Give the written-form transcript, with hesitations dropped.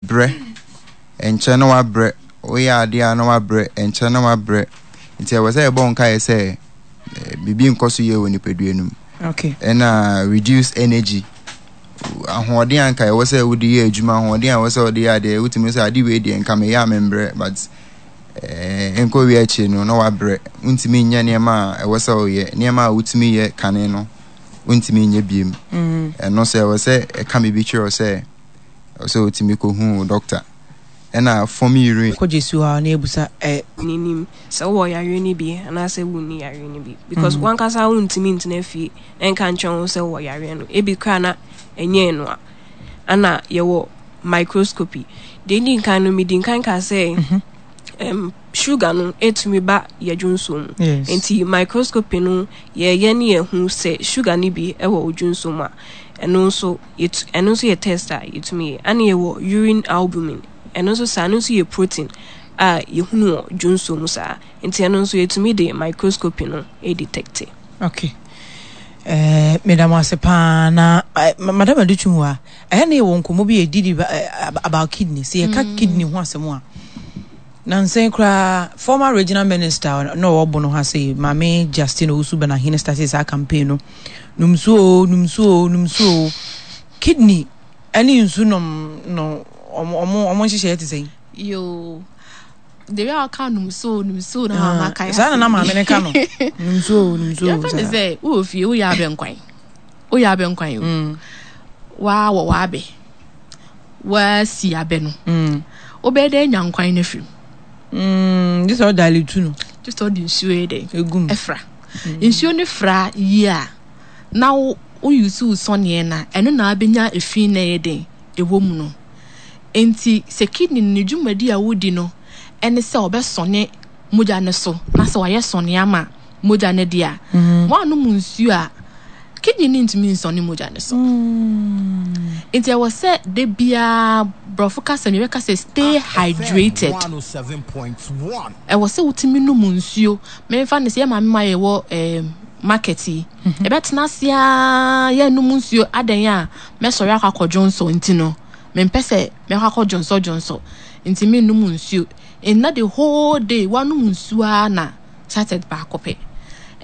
Brɛ, ɛnkyɛ na wabrɛ, woyɛ adeɛ a na wabrɛ, ɛnkyɛ na wabrɛ. Nti ɛwɔ sɛ yɛbɔ nkaeɛ sɛ eh, biribi nkɔ so yie wɔ nipadua no mu. Okay. Ɛna reduce energy. Ahoɔden a nka ɛwɔ sɛ wode yɛ adwuma, ahoɔden a ɛwɔ sɛ wode yɛ adeɛ, wotumi sɛ ade wei deɛ nka meyɛ a membrɛ, but eh, nkɔ wie akyire no na wabrɛ. Wontumi nyɛ nneɛma a ɛwɔ sɛ woyɛ, nneɛma a wotumi yɛ kane no, wontumi nyɛ biem. Ɛno sɛ ɛwɔ sɛ ɛka biribi kyerɛ wo sɛ ɛwɔ sɛ wotumi kɔhu wo dɔkta. Ɛna fam urine. Kɔ Jesu hɔ a na yɛbusa ɛ. N'anim sɛ wowɔ yareɛ no bi anaasɛ wonni yareɛ no bi because mm. wankasa wontumi ntena fie nka nkyerɛ wo sɛ wowɔ yareɛ no ebi koraa na ɛnyɛ no a ana yɛwɔ microscopy deɛ ɛdi nkan no medi nkan ka sɛ mm-hmm. um, sugar no ɛtumi ba yɛdwonsuo mu yes. nti microscopy no yɛyɛ ne yɛhu sɛ sugar no bi ɛwɔ odwonsuo mu a ɛno nso yɛtu ɛno nso yɛ test a yɛtumi yɛ ɛna yɛwɔ urine albumin ɛno nso saa ɛno nso yɛ protein a yɛhunu wɔ dwonsuo mu saa nti ɛno nso yɛtumi de microscopy no detecte. Okay. Eh, meda mo ase paa na eh, madam Adutwum wa ɛyɛ ne yɛwɔ nkɔmmɔ bi yɛdidi eh, about kidney sɛ yɛka kidney ho asɛm a Nansa yi koraa, former regional minister a na ɔwɔ Bono ha sei, Maame Justine Owusu Banahene startee saa campaign no. Nom nsuo o, nom nsuo o, nom nsuo o. Kidney ɛne nsu nom no, ɔmo ɔmo ɔmo nhyehyɛeɛ te sɛn? Yoo, the way a ɔka nom nsuo o, nom nsuo o na ama Ah, makae saa na asɛm na bi. maame no ka no. Nom nsuo o, nom nsuo o, Yɛmfa ne saa. sɛ wowɔ fie woyɛ abɛnkwan, woyɛ abɛnkwan o, waa wɔ w'abɛ. woasi abɛ no, mm. wobɛyɛ dɛ anya nkwan no afiri mu. Mm, gye sɛ ɔda aletu no. Gye sɛ ɔde nsuo yɛ dɛ. Egu mu. Ɛfra. Mm. Nsuo no fra yie a, na wo woyusu wo sɔneɛ na ɛno na abɛnya efi na ɛyɛ den ɛwɔ mu no. Nti sɛ kidney no ne dwumadi a wodi no ɛne sɛ ɔbɛsɔne mogya no so na sɛ wayɛ sɔne ama mogya no deɛ a, mm. woanom nsuo a Kidney no ntumi nsɔne mogya no so. Nti ɛwɔ sɛ da biara borɔfo kasa mu yɛbɛka sɛ stay hydrated. Ɛwɔ sɛ wotumi nom nsuo. Memfa no sɛ yɛ maame ma yɛwɔ eh, market yi. Mhm. Yɛbɛtena ase ara yɛnnom nsuo adɛn a mɛsɔre akɔ akɔdwonsɔ nti no mempɛ sɛ mɛkɔ akɔdwonsɔ dwonsɔ nti mennom nsuo. Nna the whole day woanom nsuo ara na sachet baako pɛ.